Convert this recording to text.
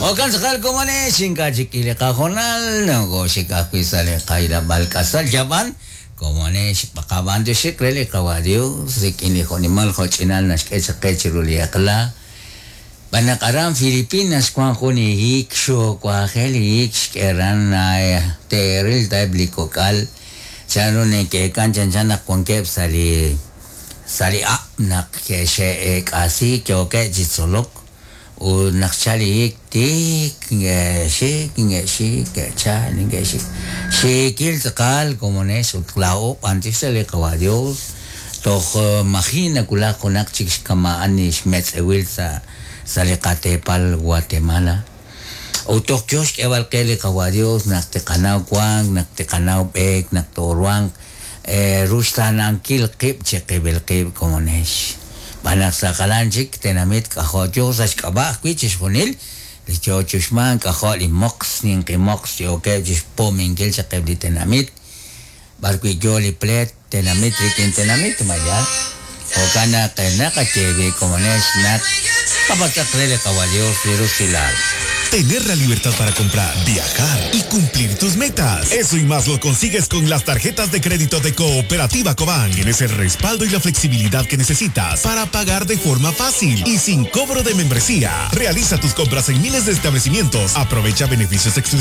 Jo'kan tz'aqal komonex, ink'a' chik k'i li qahoonal, nokooxik ajwi' sa' li qahilob'aal k'asal yab'an, komonex qab'antioxiq re li Qawa' Dios rik'in li jo'nimal jo'ch'inal naxk'e chaq qe chiru li eq'la. Xb'aan naq aran Filipinas wank jun li hiik xuwajel li hiik xk'e aran teeril ta eb' li kok'al chanru neke'eek'an chanchan naq wankeb' sa' li sa' li hab' naq ke'xe'eek'asiik yookeb' chi tzolok ut naq xchal li hiik tik neke'xik neke'xik ke'chal neke'xik xiikil tz'aqal komonex ut laa'o b'antiox re li Qawa' Dios toj maji' nawulak junaq chik xkama'an li xmetz'ewil sa' sa' li qateepal Guatemala. Ut toj yo xk'eeb'al qe li Qawa' Dios naq tiqanaw wank, naq tiqanaw b'eek, naq tooruhanq ruxtaanankil qib' chiqib'il qib' komonex. Xb'aan naq sa' jalan chik tenamit k'ajo' yo sa' xk'ab'a' ajwi' chixjunil li yo chi uxmank k'ajo' li moqs, ninqi moqs yookeb' chi xpominkil chaq eb' li tenamit b'arwi' yo li pleet tenamit rik'in tenamit ma yaal. Jo'kan naq naqaye b'i' komonex naq qapatz'aq re li Qawa' Dios li rusilal. Tener la libertad para comprar, viajar y cumplir tus metas. Eso y más lo consigues con las tarjetas de crédito de Cooperativa Cobán. Tienes el respaldo y la flexibilidad que necesitas para pagar de forma fácil y sin cobro de membresía. Realiza tus compras en miles de establecimientos. Aprovecha beneficios exclusivos.